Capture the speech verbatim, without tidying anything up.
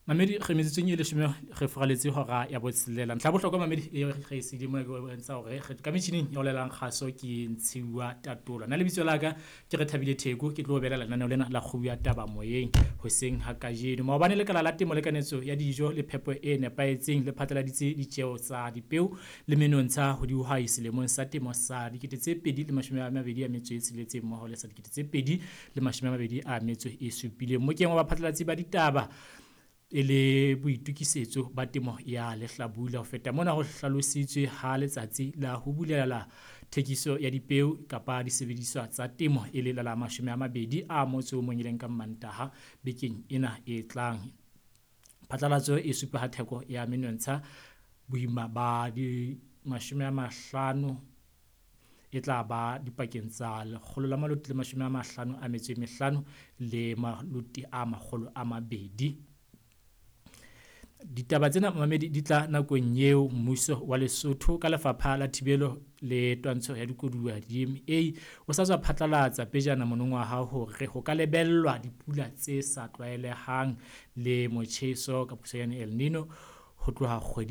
Mamedi re metsotsong e leshome re furaletse hora ya botshelela. Ntlha ya bohlokwa mamedi e re e siile mona ke bontsha hore ka metjhining ya ho laelang kgaso ke Ntshiwa Tatola. Nna lebitso la ka ke re Thabile Theko, ke tlo belela lenaneo lena la Kgobu ya Taba moyeng hoseng ha kajeno. Maobane lekala la temo le kanetso ya dijo le phepo e nepahetseng le phatlaladitse ditjeo tsa dipeo le menontsha ho dihwai selemong sa temo sa dikete tse pedi le mashome a mabedi a metso e tsheletseng mmoho le sa dikete tse pedi le mashome a mabedi a metso e supileng. Mokeng wa baphatlalatsi ba ditaba e le boitokisetso ba temo ya lehlabula. Ho feta mona ho hlalositswe ha letsatsi la ho bulela thekiso ya dipeo kapa disebediswa tsa temo e le la la mashome a mabedi a motso o mong e leng ka Mmantaha bekeng ena e tlang. Phatlalatso e supa ha theko ya menontsha boima ba di mashome a mahlano e tla ba dipakeng tsa lekgolo la maloti le mashome a mahlano a metso e mehlano le maloti a makgolo a mabedi. Ditaba tsena mamedi di tla nakong eo mmuso wa Lesotho ka lefapha la thibelo le twantsho ya dikoduwa D M A o sa tswa phatlalatsa pejana monongwaha hore ho ka lebellwa dipula tse sa tlwaelehang le motjheso ka puso ya El Nino ho tloha kgwedi